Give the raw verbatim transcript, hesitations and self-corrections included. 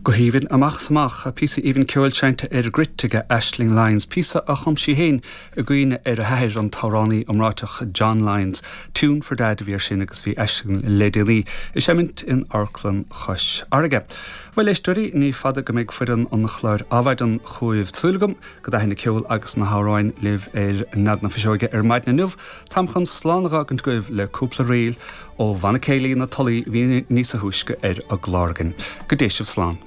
Go haoibhinn amach is amach, píosa aoibhinn ceoil seinnte ar gcruit ag Aisling Lyons, píosa a chum sí féin i gcuimhne ar a hathair an t-amhránaí iomráiteach John Lyons. Tune for Dad a bhí sin agus bhí Aisling le déanaí ag seimint in Amharclann Chois Fharraige. Bhuel éisteoirí ní fada go mbeidh foireann an chláir Adhmhaidin chugaibh súil agam go dtaithin an ceol agus na hamhráin libh ar Nead na Fuiseoige ar maidin inniu, Táim chun slán a fhágaint agaibh le cúpla ríl ó Bhanna Céilí na Tulaí bhí níos túisce ar an gclár againn. Go dté sibh slán.